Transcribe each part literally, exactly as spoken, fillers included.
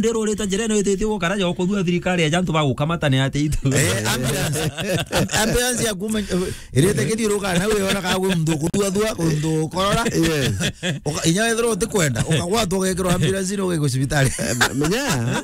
ndirurite njirene wititie gukara ja kuthua thirikari ya jantu bagukamata ni ati itu. Eh, ambulance. Am-, ambulance ya kuma, irite kithiuruka na we ona ka gwe mndu kuthua thua, kundu korora. Yes. Uka-, inya wethirwa utikwenda, ukagwatwa ugekirwa ambulance ni ugekwa cibitari. Eh, me-, menya,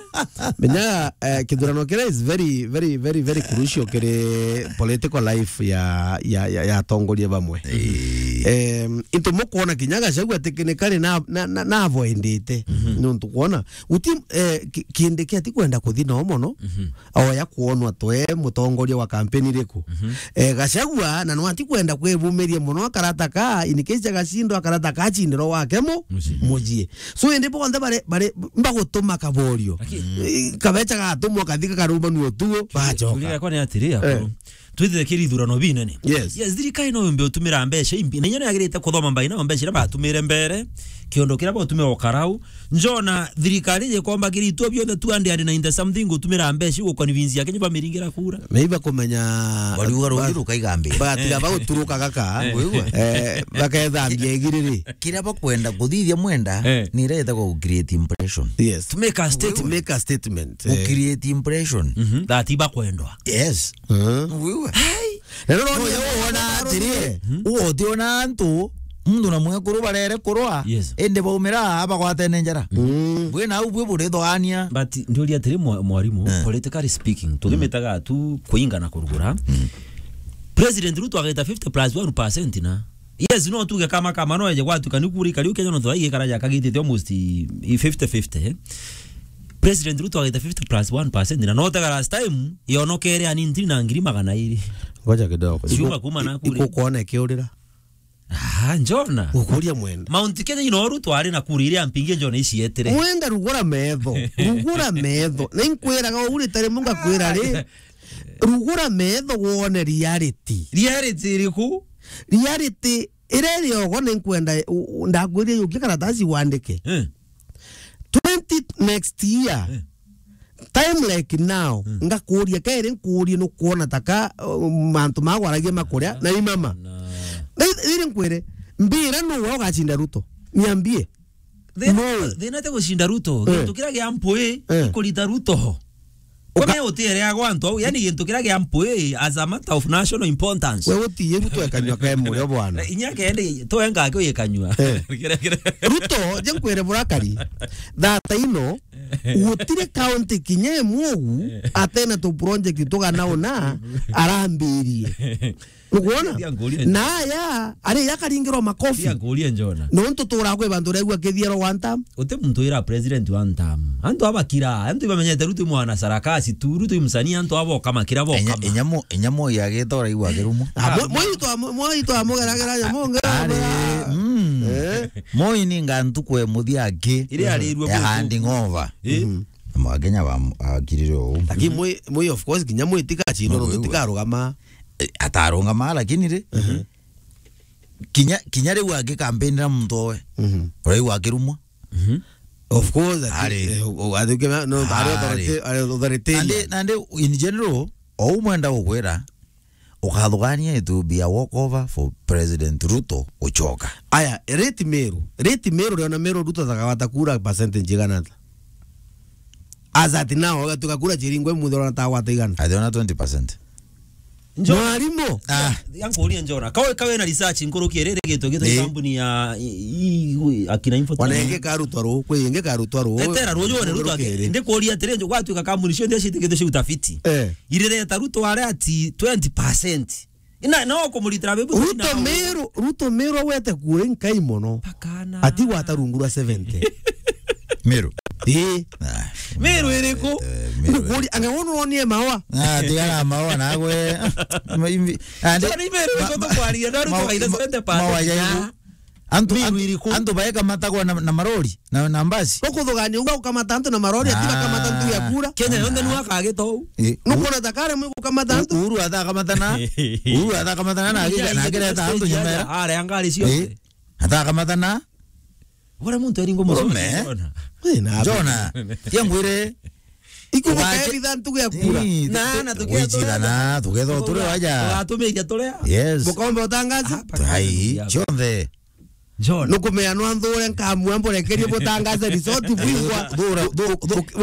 menya, eh, kithurano kira is very, very, very, very crucial kiri political life ya, ya, ya, ya atongoria bamwe. Eh. Em, into mukwona kinya Gachagua technically na, na, na, na avoidite. Mhm. Nontu kwona, guti, eh, ki-, Kindiki atikwenda kuthi nao mono, mhm, oya kwonwa twe mutongoria wa kampeni iriku. Mhm. Eh, Gachagua, na no atikwenda kwibumiria mono akarata ka, in case agacindwa akarata ka acindiro wake mu-, mucii. Mucii. So, indi bonthe bare, bare, mbagutuma kaborio. Lakini eh, kabecha gatumwa kathi kakarumanua utuo, bachoka. Kuri gakwa ni atiri, eh, akuru. Twithire kiri ithurano binene. Yes. Yes, thirikari no yumbe utumira mbeca imbi. Na inya no yagirite kuthoma mbai na mbeca iria batumire mbere, kiondo kiria bautumira ukarau. Njona thirikari yekomba kiri itwe bionthe two hundred ninety something gutumira mbeca iu guconvince Akenya bamiringira kura. Meiba kumenya. Bariuga rugi ba-, rukaiga mbere. Bagatiga, eh, baguturuka gaka. Eh. Wigua? Eh, bakethambia igiriri. Kiria bakwenda kuthithia mwenda, eh, ni iria yetagwa gu create impression. Yes. To make a statement. To make a statement. Gu, eh, create impression. Mhm. That ibakwendwa. Yes. Mhm. Wigua? Hey. Na riu no, no, uria wona atiri, hmm, uga utiona antu, muntu na mwekuru barere kurwa, yes, indi baumira aa bagwatene njara. Mm. Bwi nau bwi burithogania. But ndiuria atiri, mwa-, mwarimu, eh, politically speaking, tuthimitaga tu kuinga na kurugura. Mm. President Ruto ageta fifty plus one percent na. Yes, no tuge kama kama no eje gwatuka ni kuri kariu Kenya no thwa igikara ja kagitite almost fifty fifty, eh. President Ruto ageta fifty plus one percent na no tega last time yonokere ani ntiri na ngiri magana iri. Ngoja kidogo. Ciuma kuma na kuri. Ikukwona ikiurira. Ah, njona. Gukuria mwenda. Mount Kenya ino Ruto ari na kuri iria mpingi njona icietere. Mwenda rugura metho. Rugura metho. Na inkwiraga uri tari munga kwira ri. Rugura metho wone reality. Reality iriku? Reality iria iri ogo ni nkwenda u-, u-, ndakwiria yukie karatasi wandike. Eh. Twenty next year. Eh. Time like now, mm, ngakuria kairi nkurie nukwona taka, uh, mantu magwaragia makuria na imama. Na. Na i-, iri nkwire, mbira nu wa ugacinda Ruto. Niambie. Thina, no. Thina ti gucinda Ruto. Eh. Gintu kiria gia mpui, eh, ikurita Ruto. Uka- Kome utiere agwa antu au, yani gintu kiria gia mpui as a matter of national importance. We utiye Ruto ekanywa ke murio bwana. Inya kende twenga ke uyekanywa. Eh. Kira, kira. Ruto, je nkwire burakari. Thata ino, gutire county kinya imwe ugu, atena tu project tugana una, arambirie. Nukwona? Tia nguria. Na aya, ari yakaringirwa makofi. Tia nguria njona. Nontu turaga kwi bantu regua kithiero one term. Uti muntu ira president one term. Antu abakira, antu ibamenyete Ruto mwana sarakasi tu, Ruto msanii, antu abo kama kira bo. Enya, kama. Enya mo, enya mo ya geta uraigua kirumwa. Ah, mo, mo itwa, mo, mo itwa mugeragera ya monge. Ari, mm. Eh? Mo ini ngantu kwe muthia aki. Iri arirwe ya handing over. Eh? Mhm. Mwa Kenya ba akirire o. Lakini mo, mo of course kinya mo itika chino no tikarugama. Eh, atarungama, lakini ri, mhm, kinya, kinya riu agikampeni na muntu owe, mhm, uraigua akirumwa. Mhm. Of course, ati, ari, eh, u-, u-, ati uke-, no, ari, ari authority-, ari authority. Nandi, nandi in general, ou mwenda gukwira, ukathugania it will be a walk over for President Ruto gucoka. Aya, rate Meru. Rate Meru, riona Meru Ruto atakawata kura percentage igana ata? As at now, ugatuka kura chiringwe muthe ona tawata igana. Athiona twenty percent. Njo-, mwarimu. Ah. Ya nkuria njona. Kawe, kawe na research nkuruki riri gitu gitu, eh, kampuni ya i, i, i, akina Infotech. Wana ingi karutwa ru, kwi ingi karutwa ru. Etera ru, jone Ruto ake. Nkuruki ri. Ndikuria atiri, njo gwatuika kampuni cionthe citikite cia utafiti. Eh. Irireta Ruto are ati twenty percent. Ina, no kumuritira bibu. Ruto Meru, Ruto Meru awete kura inkai mono. Pakana. Ati gwata rungu rwa seventy. Meru. Ii. Ah, Meru iriku? Eh, Meru. Ndukuri, anga wono wonie mawa? Ah, tigara mawa nagwe. Ma-, imbi-, ande, so ni Meru ma-, iriku ma-, tukwaria, na Ruto ma-, kaitha ma-, seventy percent mawa ya na igu. Antu, Meru antu, iriku? Antu baeka matagwa na, na marori. Na, na mbasi. Ukuthugania uga ukamata antu na marori, ati bakamata ntu ya kura. Kenya yonthe nu akagita uu. Eh, nukwona ta kare mwe gukamata antu? Uhuru atha akamatana. Uhuru atha akamatana na agika-, na akireta antu nyuma era. Are angari cio. Eh, atha akamatana. Bora muntu eringo mucome. Urume. Jona. Eh, na Jona. Tia ngwire. Ikubuka ugache-, ebitha ntugu ya kura. Ii, na, tu-, na tugetha wichira na, tugetha turi waja. Ugatumiria turia. Yes. Bukombe utangaza. Ai, cionthe. John. Nukumenya no nthure nkamua mburekerie butangaze resort bwigwa. Thura, thu-, thu-,